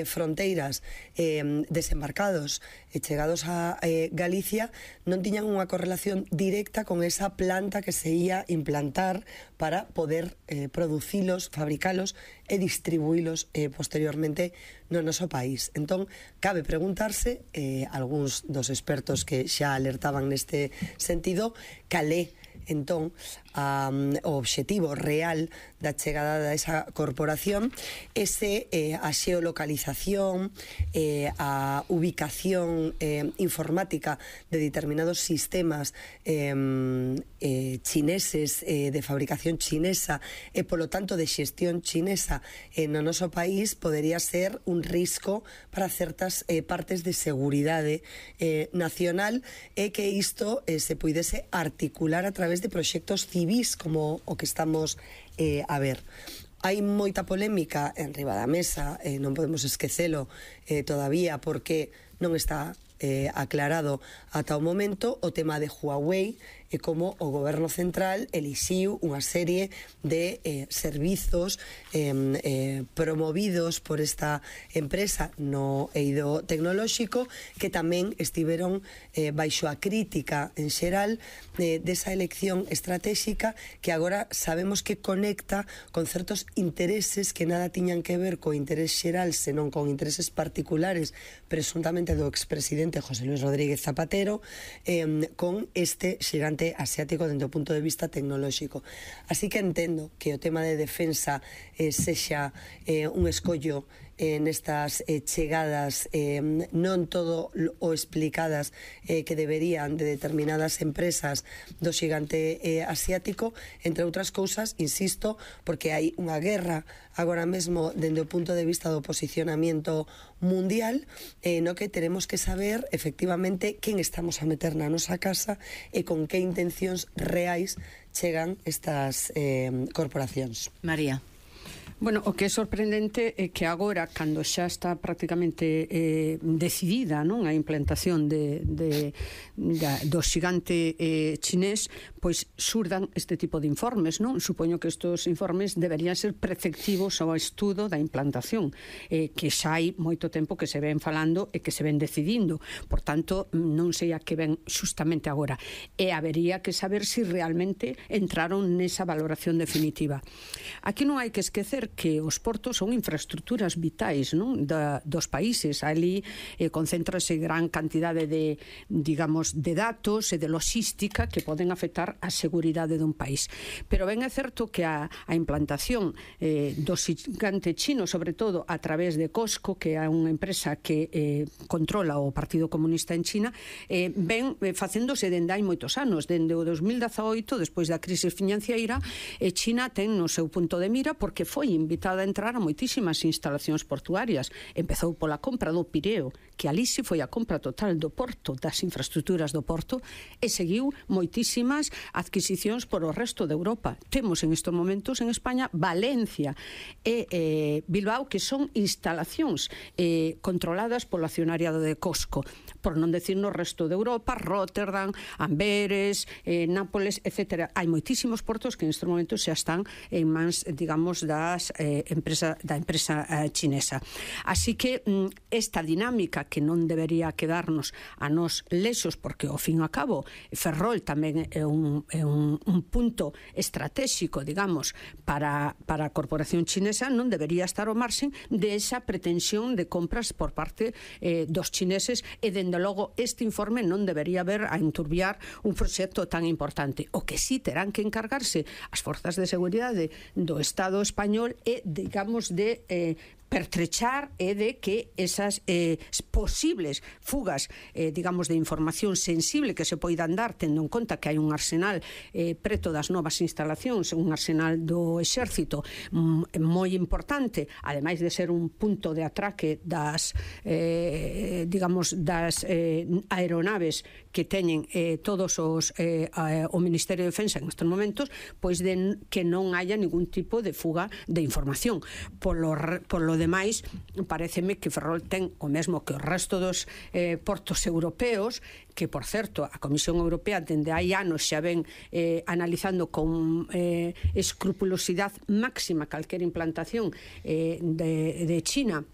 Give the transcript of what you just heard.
fronteiras desembarcados e chegados a Galicia non tiñan unha correlación directa con esa planta que se ia implantar para poder producilos, fabricalos e distribuílos posteriormente no noso país. Entón, cabe preguntarse, algúns dos expertos que xa alertaban neste sentido, cal é entón o obxectivo real da chegada desa corporación, a xeolocalización, a ubicación informática de determinados sistemas chineses, de fabricación chinesa e polo tanto de xestión chinesa no noso país, podería ser un risco para certas partes de seguridade nacional, e que isto se puidese articular a través de proxectos civis como o que estamos a ver. Hai moita polémica en riba da mesa, non podemos esquecelo todavía, porque non está aclarado ata o momento o tema de Huawei e como o goberno central elixiu unha serie de servizos promovidos por esta empresa no eido tecnolóxico, que tamén estiveron baixo a crítica en xeral desa elección estratégica, que agora sabemos que conecta con certos intereses que nada tiñan que ver co interés xeral, senón con intereses particulares, presuntamente do expresidente José Luis Rodríguez Zapatero, con este xigante asiático dentro do punto de vista tecnolóxico. Así que entendo que o tema de defensa sexa un escollo nestas chegadas non todo o explicadas que deberían de determinadas empresas do xigante asiático, entre outras cousas, insisto, porque hai unha guerra agora mesmo dende o punto de vista do posicionamiento mundial, no que teremos que saber efectivamente quen estamos a meter na nosa casa e con que intencións reais chegan estas corporacións. María. Bueno, o que é sorprendente é que agora, cando xa está prácticamente decidida, non, a implantación do xigante chinés, pois surdan este tipo de informes, non? Supoño que estes informes deberían ser preceptivos ao estudo da implantación, que xa hai moito tempo que se ven falando e que se ven decidindo. Por tanto, non sei a que ven xustamente agora. E habería que saber se realmente entraron nesa valoración definitiva. Aquí non hai que esquecer que os portos son infraestructuras vitais, non, dos países. Ali concéntrase gran cantidade de, digamos, de datos e de logística que poden afectar a seguridade dun país. Pero ben é certo que a implantación do xigante chino, sobre todo a través de COSCO, que é unha empresa que controla o Partido Comunista en China, ven facéndose dende hai moitos anos. Dende o 2018, despois da crise financiera, China ten no seu punto de mira, porque foi invitada a entrar a moitísimas instalacións portuarias. Empezou pola compra do Pireo, que ali si foi a compra total do porto, das infraestructuras do porto, e seguiu moitísimas adquisicións por o resto de Europa. Temos en estes momentos en España Valencia e Bilbao, que son instalacións controladas polo accionariado de COSCO, por non decir no resto de Europa, Rotterdam, Amberes, Nápoles, etc. Hai moitísimos portos que en estes momentos xa están en mans, digamos, da empresa chinesa. Así que esta dinámica, que non debería quedarnos a nos lexos, porque ao fin e ao cabo Ferrol tamén é un punto estratégico, digamos, para a corporación chinesa, non debería estar ao marxen de esa pretensión de compras por parte dos chineses, e dende logo este informe non debería ver a enturbiar un proxecto tan importante. O que sí terán que encargarse as forzas de seguridade do Estado español é, digamos, de pertrechar e de que esas posibles fugas, digamos, de información sensible que se poidan dar, tendo en conta que hai un arsenal preto das novas instalacións, un arsenal do exército moi importante, ademais de ser un punto de atraque das digamos, das aeronaves que teñen todos os o Ministerio de Defensa en estes momentos, pois que non haya ningún tipo de fuga de información. Por lo demais, pareceme que Ferrol ten o mesmo que o resto dos portos europeos, que, por certo, a Comisión Europea dende hai anos xa ven analizando con escrupulosidade máxima calquera implantación de China